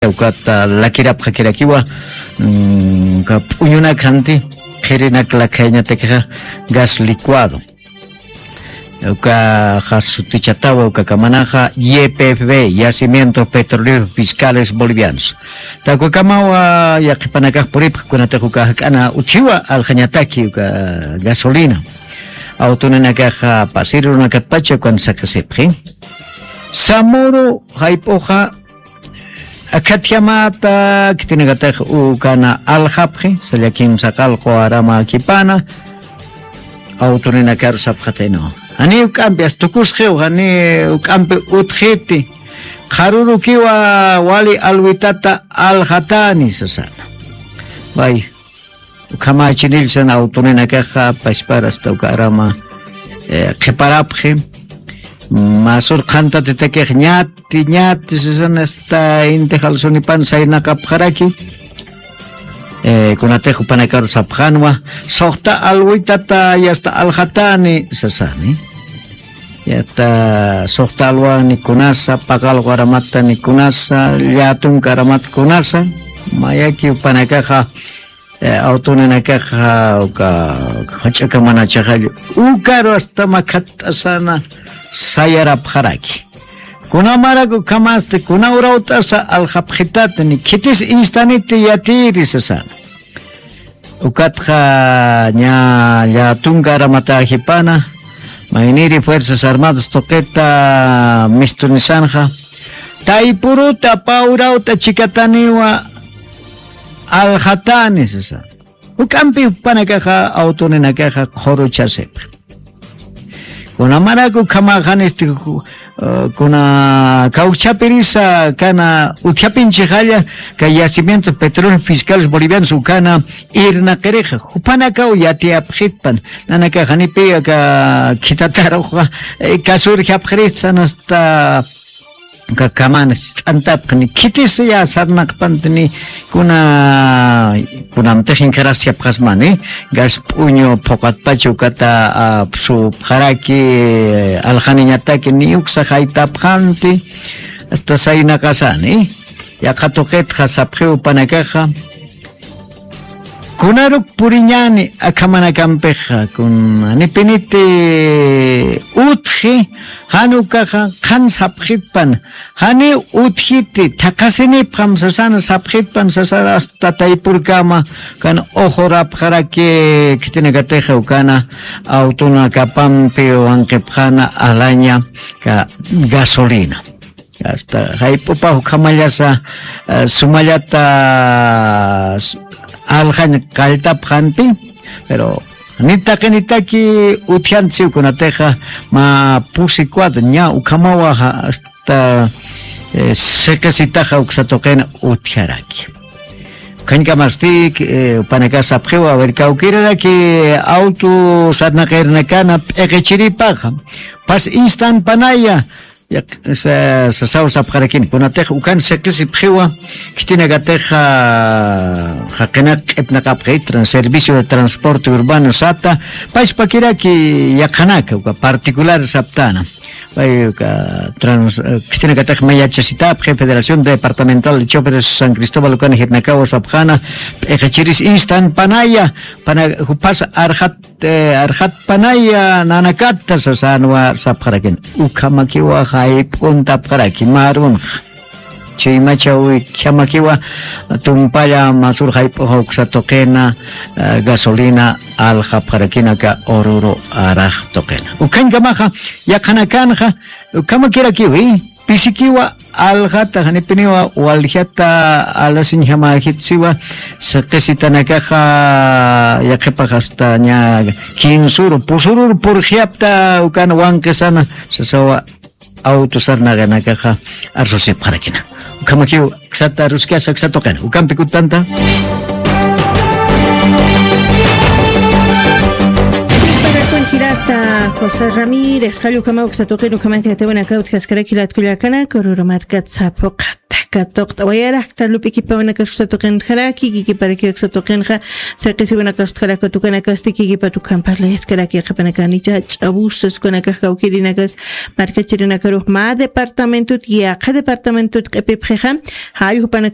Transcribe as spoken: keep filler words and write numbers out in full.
ukata lakirapxakirakiwa, mm, uka p'uñunak janti, qhirinak lakhayañatakixa gas licuado. Ukaxa sutichatawa ukakamanaxa Y P F B, Yacimientos Petroleros Fiscales Bolivianos. Takukamawa yaqhipanakax puripxa kunatix uka jak'ana utjiwa aljañataki uka gasolina. Awtuninakaxa pasirurunakatpacha ukan saqisipxi. Samuru jayp'uxa akhatjamata khitinakatix ukana aljapxi, sallakin saqalqu arama khipana, awtuninakaru sapxataynawa. Jani uk'ampi, as tukusqiw, jani uk'ampi utjiti, qharurukiwa wali alwitata aljatani, sasana. Way, ukhamachinill san awtuninakaxa, pachpar hasta uka arama, eh, qhiparapxi. Masur qhantatitakix ñati, ñati, sasana, hasta inti jalsunipan saynaqapxaraki. Eh, kunatix jupanakaru sapxanwa, suxta alwitata yasta aljatani, sasani. Yata suxta alwani kunasa, paqalqu aramata ni kunasa, llatunka aramat kunasa, mayaki jupanakaxa, eh, awtuninakaxa, uka, jach'akamanachaxalla, ukaru hasta makhatt'asana sayarapxaraki. Kunamarak ukhamasti, kuna urawt'asa aljapxitati, ni khitis instaniti yatiri, sasana. Ukatxa ña llatunka aramata jipana, mayniri Fuerzas Armadas tuqita mistunisanxa, taypuruta, pä urawta chikataniwa aljatani, sasa. Uk'ampi jupanakaxa, awtuninakaxa qhuruchasipxi. Kunamaraku ukhamaxan, este, ku-, eh, kuna kawchapirisa kana utjapinchixalla, kay Yacimientos Petróleos Fiscales Bolivianos ukana irnaqirixa, jupanakaw yatiyapxitpan, nanakax janipi aka khitataruxa, eh, kasurjapxirista, hasta Ka-, kamana ch'antapxni, khitis ya sarnaqpantni, kuna, kunamtix inkarasiyapxasmani, gas p'uñu phuqatpacha ukata, a, supxaraki, aljaniñataki, ni uksa jaytapxanti, hasta saynaqasani, yaqha tuqitxa sapxiw jupanakaxa, Kunaruk puriñani akhamanakampixa, kun janipiniti utji, jan ukaxa qhan sapxitpan, janiw utjiti, thaqhasinipxam sasana sapxitpan sasana hasta taypurkama, kan uxurapxaraki khitinakatixa ukana, awtunakapampi wanqipxana alaña ka gasolina. Hasta jayp'upax ukhamallasa, eh, sumallata s-, aljañ qalltapxanti, pero ni taqinitaki utjantsiw kunatixa mä pusi cuadro, ña ukhamawa hasta, eh, siqisitaxa uksa tuqina utjaraki. Ukhañkamasti, eh, jupanakax sapxiwa, a ver, kawkïraraki auto sarnaqirnakana p'iqichiripaxa, pas instan panaya, Yaq-, sa-, sasaw sapxarakini. Kunatix ukan siqisipxiwa, khitinakatix, a, jaqinak q'ipnaqapxi, tran-, servicio de transporte urbano sata, pachpakiraki yaqhanaka, uka particular saptana. Pay uka trans-, eh, khitinakatix mayachasitapxi, Federación Departamental de Choferes San Cristóbal ukan jirnakawa sapxana, p'iqichiris instan panaya, pana-, jupas arxat eh, arxatpanaya nanakata sasanwa sapxarakin. Ukhamakiwa jayp'untapxaraki marunx. Chuymachawi khamakiwa tumpalla masur jayp'uxa uksa tuqina, eh, gasolina aljapxarakinaka ururu arax tuqina. Ukhañkamaxa yaqhanakanxa ukhamakirakiwi. Pisikiwa aljata, janipiniwa waljata alasiñjamäjitsiwa, siqisitanakaxa yaqhipax hasta ña kinsuru, pusururu purxiyapta ukan wanqisana, sasawa auto sarnaqinakaxa arsusipxarakina. Ukhamakiw aksata aruskasa aksa tuqina. Ukampi kutanta. Pagakun jirata. José Ramírez, jallukama uksatuqin ukhamanti jatiwanaka utjaskaraki latkullakana, kururu markat sapuqata katuqta wayarakta lup'ikipawanakaskusatuqin jaraki, kikiparakiwaksa tuqinxa, saqisiwanakasta jaraka tukanakasti kikipatukan parlayaskaraki qapanakanicha ch'abusas kunakax kawkirinakas, markachirinakaruq ma departamentut yaqa departamentut q'ipipxixa, jalljupanaka